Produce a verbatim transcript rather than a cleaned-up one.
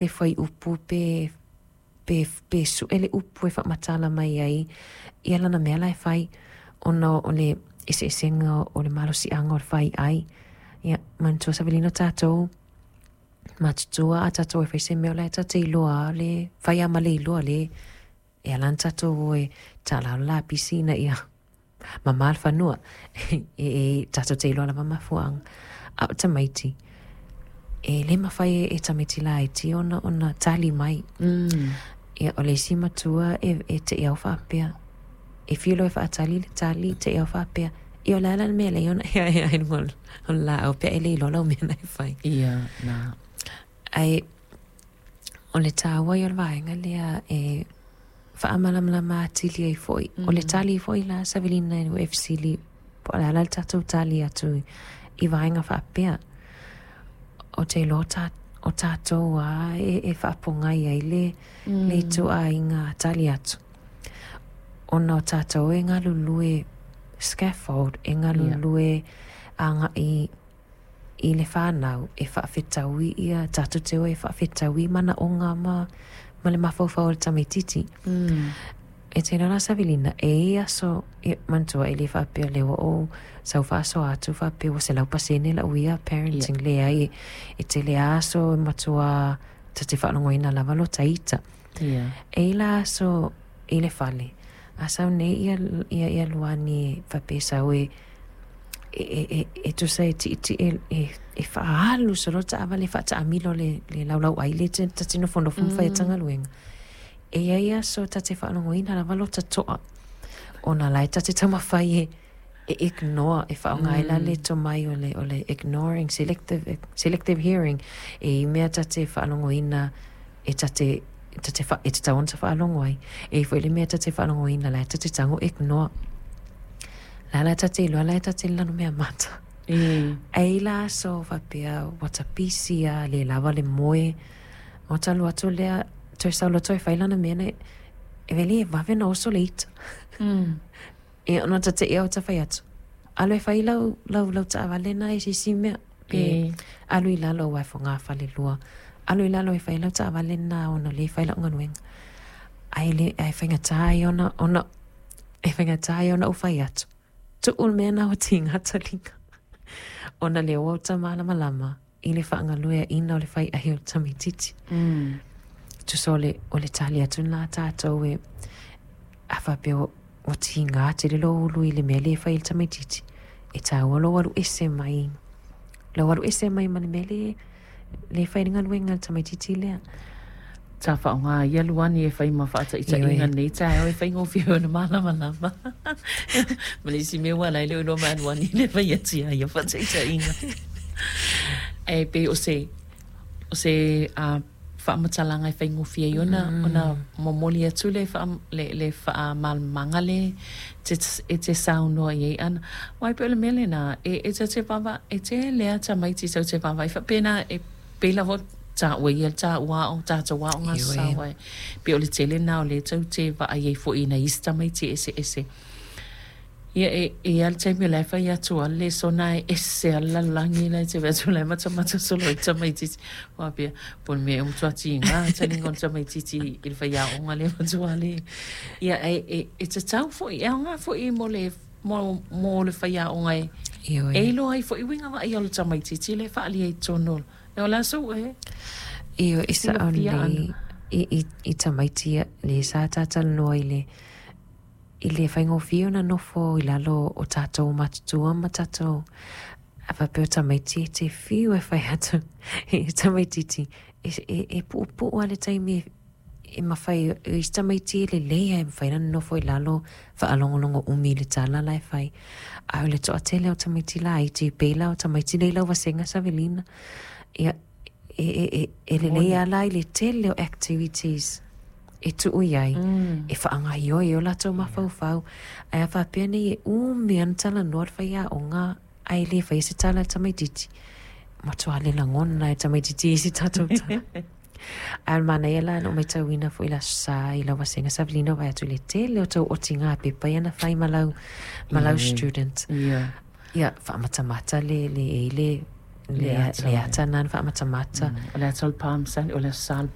Le fuaiupu pe pe pe suʻe le upu e faamatala mai ai ia lana mea la e fai ona o le eseesega o le malosiaga o le faiai. Ia manatua, Savelina, o tatou matutua, a tatou e fai se mea o la e tate iloa le fai a ma le iloa le e ala ona tatou o e taalā le lapisi ina ia mamā le fanua e, e tatou te iloa lava mafuaaga. A o tamaiti e lē mafai e tamaiti laiti ona ona tali mai. Mm. Ia o le isi matua e, e te au faapea e fia loa e faatali le tali te au faapea ia o le ala le mea lea ona ea ea ai luga o le laau pe e le iloa lau mea na e fai. Ia, na. Ae o le tāua ia o le vaega lea e faamalamalama atili ai foi o le tali foi la, Savelina, e fesili po o le ala le tatou tali atu i vaega faapea o te iloa ta, o tatou a e, e faapogai ai le, mm. le ituaiga tali atu ona o tatou e galulue scaffold e galulue yeah. agaʻi i le fanau e faafetaui ia tatou te o e faafetaui manaʻoga ma ma le mafaufau o le tamaititi. Mm. E te la, Savelina, e i aso e manatua e le faapea lea ua ou sau faasoa atu faapea ua selau pasene lau ia parenting yeah. Leai, e, e tele aso e matua ta te faalogoina lava lo taita. Yeah. E i la aso i le fale a sau nei ia, ia, ia Luani faapea sau e e, e, e, e tusa e tiiti e, e, e faaalu solo taavale faataamilo le, le laulau ai le te ta te nofonofo ma fai tagaluega. E iai aso ta te faalogoina lava lo tatoa ona la e ta te taumafai e e ignore e faaaoga ai la le tomai o le, o le ignoring, selective, selective hearing e i mea ta te faalogoina e ta te ta te fa, e te tau ona ta faalogo ai e foi le mea ta te faalogoina la e ta te tago ignore la la ta te iloa la e ta te lanu mea mata. E. Ai la aso faapea ua tapisi a le lava le moe o talu atu lea toe sau loa toe fai lana mea na e vele e vave na oso le ita. Mm. E ona ta te ea o ta fai atu alu e fai lau lau lau taavale na e sisi mea pe E. alu i lalo ua e fogafale lua alu i lalo e fai lau taavale na ona lē fai lau galuega ae le ae faigatā ai ona ona e faigatā ai ona ou fai atu tuu le mea na ua tiga taliga ona le ua uta malamalama i le faagalueaʻina o le fai ai o le tamaititi. Mm. Tusa o le o le tali atu lena tatou e a faapea ua tigā tele lou ulu i le mea lē fai i le tamaititi e tāua lou alu ese mai lau alu ese mai ma le mea lē lē fai le galuega le tamaititi lea. Ta whaonga ia Luani e whai ma whaataitaiga nei taeo e whai ngōwhi o na malamalama. Ma le isi mea ua lai le o ma Luani le whai atia ia whaataitaiga. E pe o se, o se uh, faamatalaga e faigofie ai ona mm. ona momoli atu le wha, le, le faamalamaga le te, e te saunoa i ai ana. Wai pe o le mea lena, e, e te te vava, e te lea tamaiti sau te vava, i whapena e pela vo ta ua ia ta ua o ta ta ua o ngā Ioe. sawa e. Pe o le tele nā o le tau te va ai ai fo ina isi tamaiti ese ese. Ia e e al taimi o le whai atu a le sona e ese a lalangi lai te atu lai mata mata solo i tamaititi. Wā pia, po le mea e mutu ati i ngā talinga o le tamaititi i le whai aonga le matua le. Ia e, e, e te tau fo i aonga fo i mo le mo, mo le whai aonga e. Ioe. E iloa ai fo i winga wa i o le tamaititi le whaali ai tono. E o la so e. Io e sa o Silafia le i, i, i tamaiti le sa tatalanoa i le i le faigofie ona nofo i lalo o tatou matutua ma tatou a faapea o tamaiti e te fiu e fai atu i tamaititi e, e, e puupuu a le taimi e, e mafai i si tamaiti e lelei ae mafai ona nofo i lalo faalogologo umi i le tala la e fai ae o le toatele o tamaiti laiti pei la o tamaiti lei lau vasega, Savelina, ia e, e, e, e lelei ala i le tele o activities e tuu i ai Mm. e faagaioi o latou mafaufau ae a faapea nei e umi ana talanoa le faiaoga ae lē faia se tala le tamaititi matuā le lagona e tamaititi i si tatou tala. Ae o le manaia la na ou matauina foʻi le aso sa i lau vasega, Savelina, vaai atu i le tele o tou otigā pepa ia na fai ma lau ma lau Ioe. student Ia. ia faamatamata le le e le le Le ata, le ata na na faamatamata. Mm. O le ata o le palm Sunday, o le aso sa le